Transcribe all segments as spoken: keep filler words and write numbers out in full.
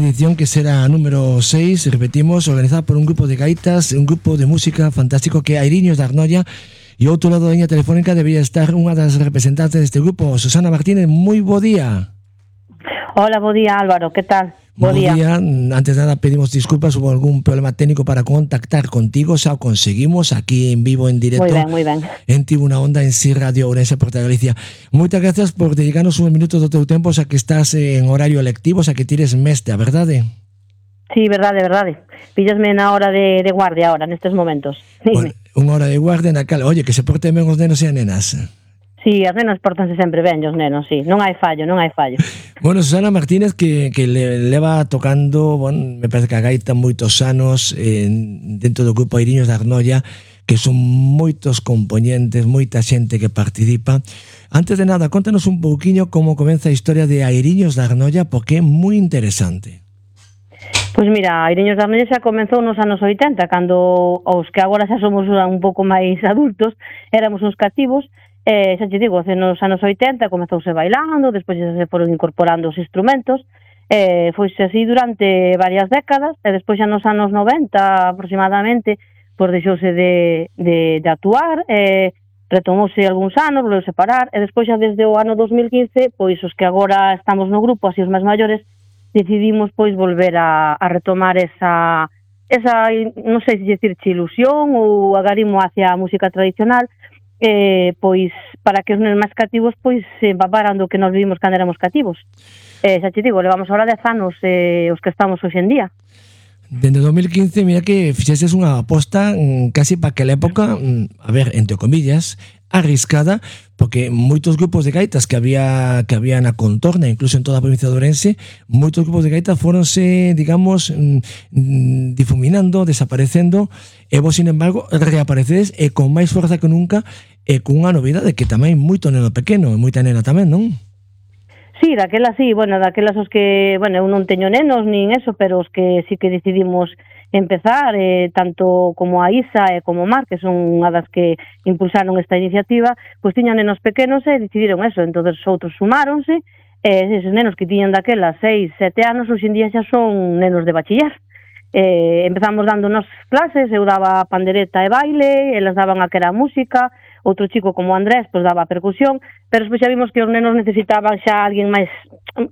edición que será a número seis, repetimos, organizada por un grupo de gaitas, un grupo de música fantástico que é Airiños de Arnolla. E ao outro lado da liña telefónica debería estar unha das representantes deste grupo, Susana Martínez. Moi bo día. Hola, bo día, Álvaro, que tal? Bo día. día. Antes de nada pedimos disculpas, hubo algún problema técnico para contactar contigo, xa o conseguimos aquí en vivo, en directo. Moi ben, moi ben. En Tribuna Onda, en Si Radio Ourense, Porta Galicia. Moitas gracias por dedicarnos un minuto do teu tempo, xa que estás en horario lectivo, xa que tires mestre, a verdade? Sí, verdade, verdade. Píllosme na hora de, de guardia ahora, nestes momentos. Bueno, unha hora de guardia na cal. Oye, que se porten ben os nenos e as nenas. Sí, as nenas portanse sempre ben, os nenos, sí. Non hai fallo, non hai fallo. Bueno, Susana Martínez, que, que le, leva tocando, bueno, me parece que a gaita moitos anos eh, dentro do grupo Airiños de Arnolla, que son moitos componentes, moita xente que participa. Antes de nada, contanos un pouquiño como comeza a historia de Airiños de Arnolla, porque é moi interesante. Pois mira, Airiños de Arnolla xa comenzou nos anos oitenta, cando os que agora xa somos un pouco máis adultos, éramos uns cativos. Eh, xa te digo, nos anos oitenta comezouse bailando, despois xa se foron incorporando os instrumentos, eh, foise así durante varias décadas, e despois xa nos anos noventa aproximadamente, pois deixouse de, de, de actuar, eh, retomouse algúns anos, volveu separar, e despois xa desde o ano dos mil quince, pois os que agora estamos no grupo, así os máis maiores, decidimos pois volver a, a retomar esa, esa, non sei se dicir ilusión ou agarimo hacia a música tradicional, eh, pois para que os nenos máis cativos pois se empaparan do que nos vivimos cando éramos cativos. Eh, xa te digo, levamos ahora dez anos eh, os que estamos hoxe en día. Dende dos mil quince, mira que fixeses unha aposta mm, casi para aquela época, mm, a ver, entre comillas, arriscada, porque moitos grupos de gaitas que había que había na contorna, incluso en toda a provincia de Ourense, moitos grupos de gaitas foronse, digamos, mm, difuminando, desaparecendo, e vos, sin embargo, reaparecedes e con máis forza que nunca, e con unha novidade que tamén moito neno pequeno, e moita nena tamén, non? Sí, daquela sí, bueno, daquelas os que, bueno, eu non teño nenos nin eso, pero os que sí que decidimos empezar, eh, tanto como a Isa e como Mar, que son unha das que impulsaron esta iniciativa, pois tiñan nenos pequenos e decidiron eso, entonces outros sumáronse, e esos nenos que tiñan daquelas seis, sete anos, hoxe en día xa son nenos de bachiller. Eh, empezamos dándonos clases, eu daba pandereta e baile, elas daban a que era música, outro chico como Andrés pois daba percusión, pero despois xa vimos que os nenos necesitaban xa alguén máis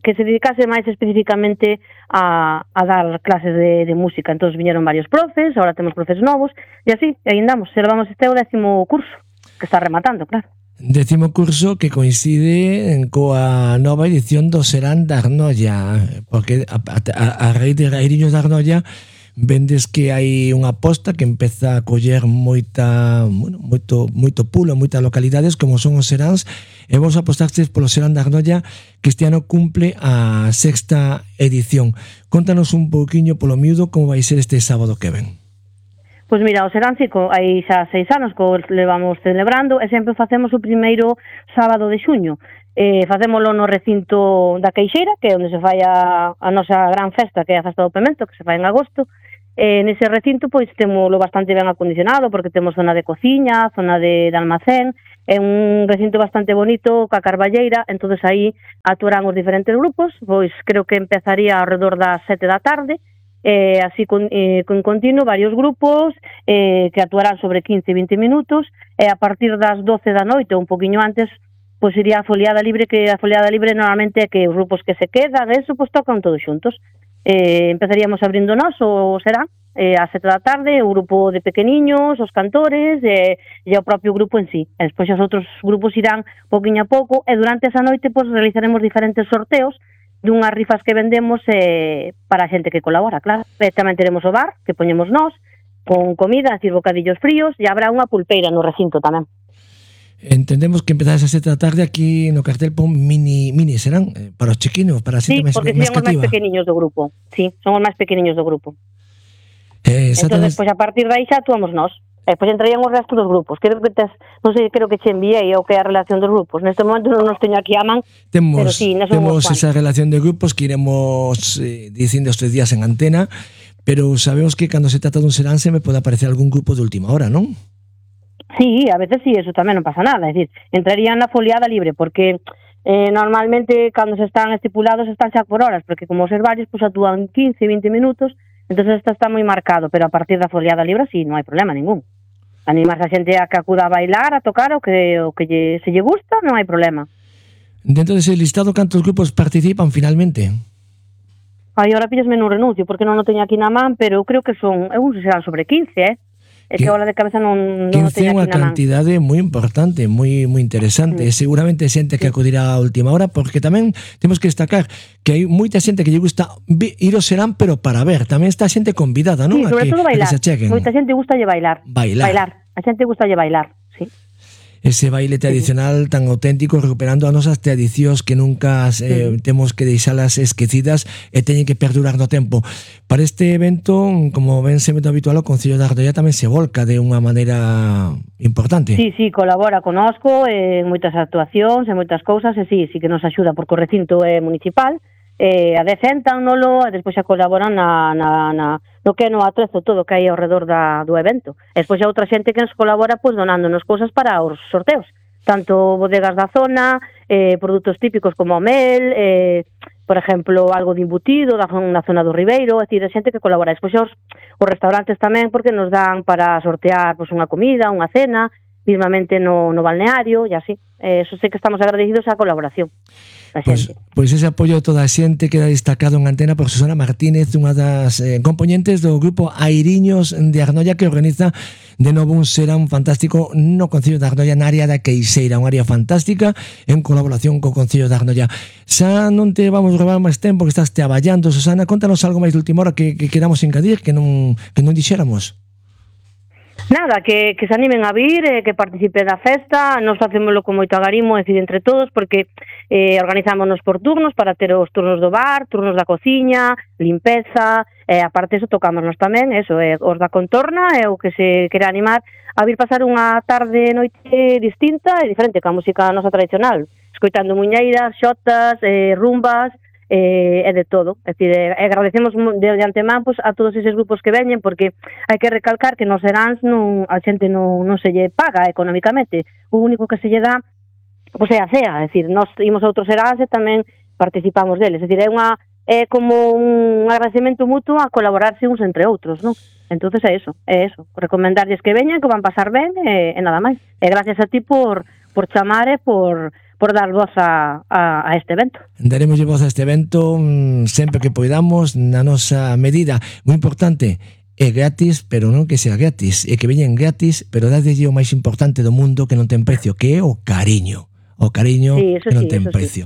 que se dedicase máis especificamente a, a dar clases de, de música. Entón viñeron varios profes, agora temos profes novos, e así, e aí andamos, servamos este o décimo curso, que está rematando, claro. Décimo curso que coincide coa nova edición do Serán de Arnolla, porque a, a, a raíz de Airiños de Arnolla vendes que hai unha aposta que empeza a coller moita, bueno, moito, moito pulo en moitas localidades como son os Seráns, e vos apostastes polo Serán de Arnolla, que este ano cumple a sexta edición. Contanos un pouquiño polo miúdo como vai ser este sábado que ven. Pois mira, o Serán Cico hai xa seis anos que o levamos celebrando e sempre facemos o primeiro sábado de xuño. Eh, facémolo no recinto da Queixeira, que é onde se fai a, a nosa gran festa, que é a Festa do Pemento, que se fai en agosto. Eh, nese recinto pois temoslo bastante ben acondicionado, porque temos zona de cociña, zona de, de almacén, é un recinto bastante bonito, ca carballeira, entonces aí actuarán os diferentes grupos, pois creo que empezaría alrededor das sete da tarde, eh, así con, eh, con continuo varios grupos eh, que actuarán sobre quince a vinte minutos, e a partir das doce da noite ou un poquinho antes pois iría a foliada libre, que a foliada libre normalmente é que os grupos que se quedan, eso, pois tocan todos xuntos. Eh, empezaríamos abrindo nós, o será, eh, a sete da tarde, o grupo de pequeniños, os cantores, e, e o propio grupo en sí. E despois os outros grupos irán poquinho a pouco, e durante esa noite pois realizaremos diferentes sorteos dunhas rifas que vendemos eh, para a xente que colabora, claro. E tamén teremos o bar, que poñemos nós, con comida, decir, bocadillos fríos, e habrá unha pulpeira no recinto tamén. Entendemos que empezades a sete da tarde aquí no cartel pon mini, mini serán eh, para os chiquinos, para a xente máis cativa. Sí, porque son os máis pequeniños do grupo. Sí, son os máis pequeniños do grupo. Eh, entón, despois, a partir de aí xa actuamos nós. E depois entrarían os restos dos grupos. Creo que tes, non sei, creo que che enviei o que é a relación dos grupos. Neste momento non nos teño aquí a man, temos, pero sí, temos esa relación de grupos que iremos eh, dicindo estes días en antena, pero sabemos que cando se trata dun serán se me pode aparecer algún grupo de última hora, non? Sí, a veces sí, eso tamén non pasa nada. É dicir, entrarían na foliada libre, porque Eh, normalmente, cando se están estipulados, están xa por horas, porque como os herbarios, pues, actúan quince, vinte minutos, entonces esta está moi marcado, pero a partir da foliada libre, sí, non hai problema ningún. Animas a xente a que acuda a bailar, a tocar, o que, o que lle, se lle gusta, non hai problema. Dentro dese listado, cantos grupos participan finalmente? Aí, ahora pillasme nun renuncio, porque non o teño aquí na man, pero eu creo que son, eu non sei se serán sobre quince, eh? É que ahora de cabeza non, non o teño aquí na man. quince é unha cantidade moi importante, moi moi interesante. Mm. Seguramente xente que acudirá a última hora, porque tamén temos que destacar que hai moita xente que lle gusta ir ao Serán, pero para ver. Tamén está xente convidada, non? Sí, sobre a que, todo bailar. A que se acheguen. Moita xente gusta lle bailar. Bailar. Bailar. A xente gusta lle bailar, sí. Ese baile tradicional tan auténtico, recuperando as nosas tradicións que nunca eh, sí. temos que deixalas esquecidas e teñen que perdurar no tempo. Para este evento, como ven sempre habitual, o Concello de Arnoia tamén se volca de unha maneira importante. Sí, sí, colabora conosco en moitas actuacións, en moitas cousas, e sí, sí que nos axuda porque o recinto é municipal, eh, a decentan nolo, e despois xa colaboran na, na, na, no que é no atrezo todo que hai ao redor da, do evento. E despois xa outra xente que nos colabora pois donándonos cousas para os sorteos, tanto bodegas da zona, eh, produtos típicos como o mel, eh, por exemplo, algo de embutido da, na zona do Ribeiro, é dicir, a xente que colabora. Despois os, os restaurantes tamén, porque nos dan para sortear pois, unha comida, unha cena, mismamente no, no balneario, e así. Eh, eso sei que estamos agradecidos á colaboración. Pois, pois ese apoio de toda a xente queda destacado en antena por Susana Martínez, unha das eh, componentes do grupo Airiños de Arnoia, que organiza de novo un serán fantástico no Concello de Arnoia, na área da Queixeira, unha área fantástica en colaboración co Concello de Arnoia. Xa non te vamos robar máis tempo, que estás te aballando, Susana, contanos algo máis de última hora que, que queramos engadir, que non, que non dixéramos. Nada, que, que se animen a vir, eh, que participen da festa, nos facémoslo con moito agarimo, é dicir, entre todos, porque eh, organizámonos por turnos para ter os turnos do bar, turnos da cociña, limpeza, e eh, aparte eso tocámonos tamén, eso, eh, os da contorna, e eh, o que se quere animar a vir pasar unha tarde noite distinta e diferente, ca música nosa tradicional, escoitando muñeiras, xotas, eh, rumbas, eh, e de todo. É dicir, eh, agradecemos de, de antemán pues, a todos eses grupos que veñen, porque hai que recalcar que nos seráns non, a xente non, non se lle paga económicamente, o único que se lle dá pois é a cea, é dicir, nós imos a outros seráns e tamén participamos deles, é dicir, é unha é como un agradecemento mutuo a colaborarse uns entre outros, non? Entonces é eso, é eso, recomendarlles que veñan, que van pasar ben e, e nada máis. E gracias a ti por, por chamar e por por dar voz a, a, a este evento. Daremos voz a este evento mmm, sempre que poidamos, na nosa medida. Moi importante, é gratis, pero non que sea gratis, é que veñen gratis, pero dadelle o máis importante do mundo que non ten precio, que é o cariño. O cariño sí, que non sí, ten sí. precio.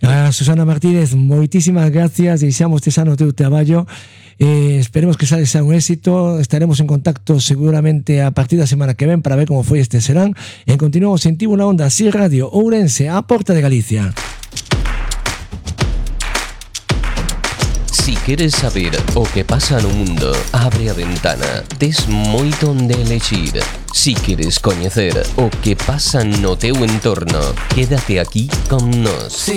A Susana Martínez, moitísimas gracias, deixamos tes ano teu traballo. Eh, esperemos que sales a un éxito. Estaremos en contacto seguramente a partir da semana que ven para ver como foi este serán. E continuamos en Tivo na Onda, así Radio Ourense, a porta de Galicia. Si queres saber o que pasa no mundo, abre a ventana, tes moito onde elexir. Si queres coñecer o que pasa no teu entorno, quédate aquí con nos.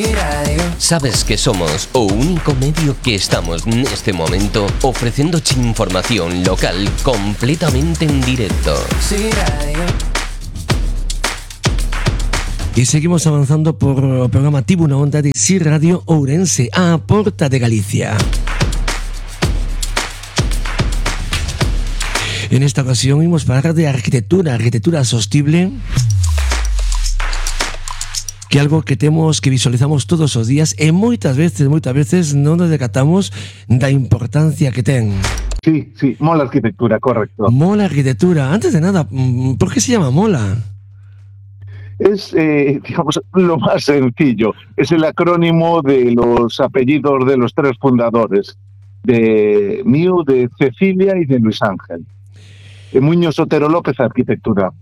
Sabes que somos o único medio que estamos neste momento ofrecéndoche información local completamente en directo. E seguimos avanzando por o programa Tivo na Onda de Si Radio Ourense, a porta de Galicia. En esta ocasión vimos falar de arquitectura, arquitectura sostible, que é algo que temos, que visualizamos todos os días e moitas veces, moitas veces non nos decatamos da importancia que ten. Sí, sí, mola arquitectura, correcto. Mola arquitectura. Antes de nada, ¿por qué se llama mola? Es, eh, digamos, lo más sencillo. Es el acrónimo de los apellidos de los tres fundadores, de mío, de Cecilia y de Luis Ángel. Muñoz Otero López, arquitectura.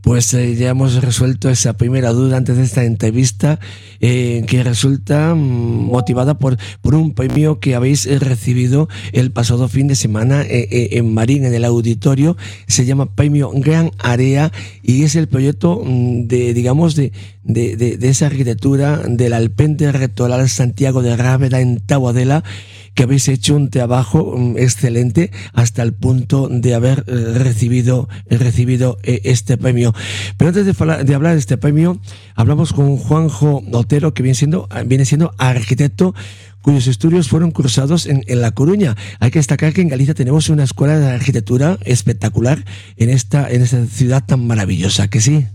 Pues eh, ya hemos resuelto esa primera duda antes de esta entrevista, eh, que resulta mm, motivada por, por un premio que habéis recibido el pasado fin de semana eh, eh, en Marín, en el auditorio. Se llama Premio Gran Area y es el proyecto mm, de, digamos, de, de, de, de esa arquitectura del Alpendre Rectoral Santiago de Ráveda en Taboadela, que habéis hecho un trabajo excelente hasta el punto de haber recibido, recibido este premio. Pero antes de, fala, de hablar de este premio, hablamos con Juanjo Otero, que viene siendo, viene siendo arquitecto, cuyos estudios fueron cursados en, en La Coruña. Hay que destacar que en Galicia tenemos una escuela de arquitectura espectacular en esta, en esta ciudad tan maravillosa, ¿que sí?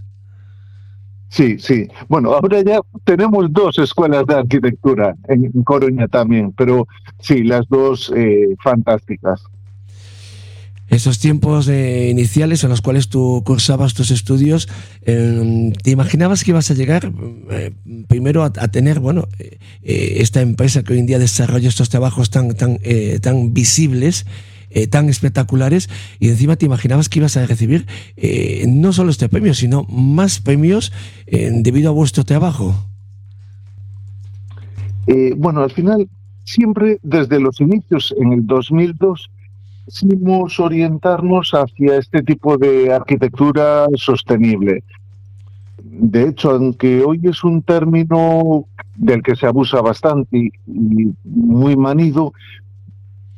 Sí, sí. Bueno, ahora ya tenemos dos escuelas de arquitectura en Coruña también, pero sí, las dos eh, fantásticas. Esos tiempos eh, iniciales en los cuales tú cursabas tus estudios, eh, ¿te imaginabas que ibas a llegar eh, primero a, a tener, bueno, eh, esta empresa que hoy en día desarrolla estos trabajos tan, tan, eh, tan visibles, eh, tan espectaculares, y encima te imaginabas que ibas a recibir eh, no solo este premio, sino más premios eh, debido a vuestro trabajo? Eh, bueno, al final, siempre desde los inicios, en el dos mil dos, quisimos orientarnos hacia este tipo de arquitectura sostenible. De hecho, aunque hoy es un término del que se abusa bastante y, y muy manido,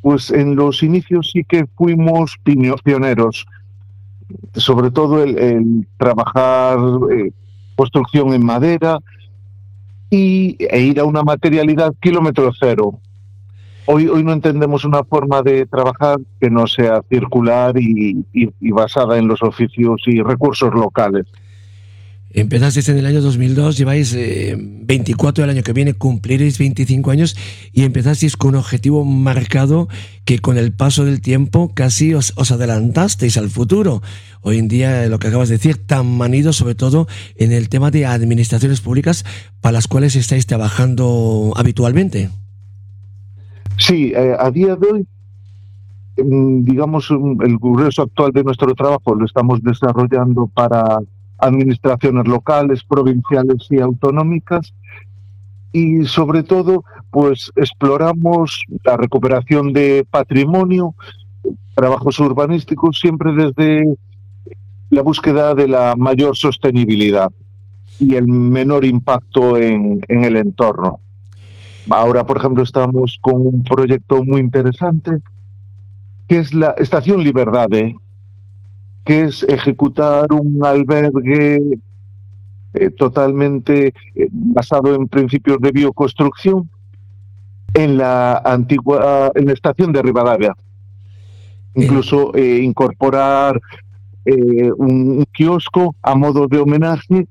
pues en los inicios sí que fuimos pioneros, sobre todo el, el trabajar eh, construcción en madera y, e ir a una materialidad kilómetro cero. Hoy, hoy no entendemos una forma de trabajar que no sea circular y, y, y basada en los oficios y recursos locales. Empezasteis en el año dos mil dos, lleváis eh, veinticuatro, el año que viene cumpliréis veinticinco años, y empezasteis con un objetivo marcado que con el paso del tiempo casi os, os adelantasteis al futuro. Hoy en día, lo que acabas de decir, tan manido sobre todo en el tema de administraciones públicas para las cuales estáis trabajando habitualmente. Sí, eh, a día de hoy, digamos, el grueso actual de nuestro trabajo lo estamos desarrollando para administraciones locales, provinciales y autonómicas, y sobre todo, pues exploramos la recuperación de patrimonio, trabajos urbanísticos, siempre desde la búsqueda de la mayor sostenibilidad y el menor impacto en, en el entorno. Ahora, por ejemplo, estamos con un proyecto muy interesante, que es la Estación Liberdade, que es ejecutar un albergue eh, totalmente eh, basado en principios de bioconstrucción en la antigua, en la estación de Ribadavia. Incluso eh, incorporar eh, un, un kiosco a modo de homenaje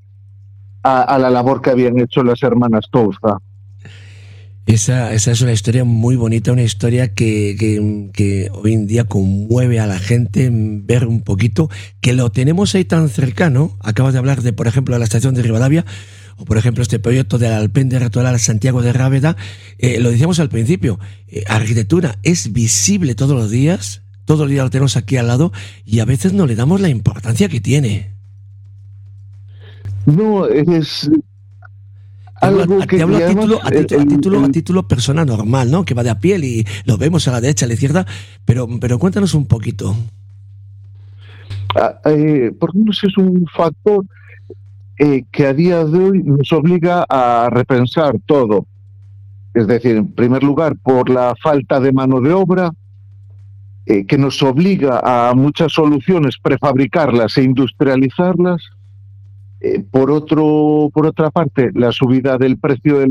a, a la labor que habían hecho las hermanas Touza. Esa, esa es una historia muy bonita, una historia que, que, que hoy en día conmueve a la gente ver un poquito, que lo tenemos ahí tan cercano. Acabas de hablar de, por ejemplo, de la estación de Ribadavia, o por ejemplo este proyecto del Alpendre Retoral Santiago de Rábeda. Eh, lo decíamos al principio, eh, arquitectura es visible todos los días, todos los días lo tenemos aquí al lado, y a veces no le damos la importancia que tiene. No, es... Algo que, te hablo a título, a, título, a, título, a título persona normal, ¿no? Que va de a pie y lo vemos a la derecha, a la izquierda, pero, pero cuéntanos un poquito. Ah, eh, porque no sé, es un factor eh, que a día de hoy nos obliga a repensar todo. Es decir, en primer lugar, por la falta de mano de obra, eh, que nos obliga a muchas soluciones prefabricarlas e industrializarlas. Eh, por otro, por otra parte, la subida del precio de los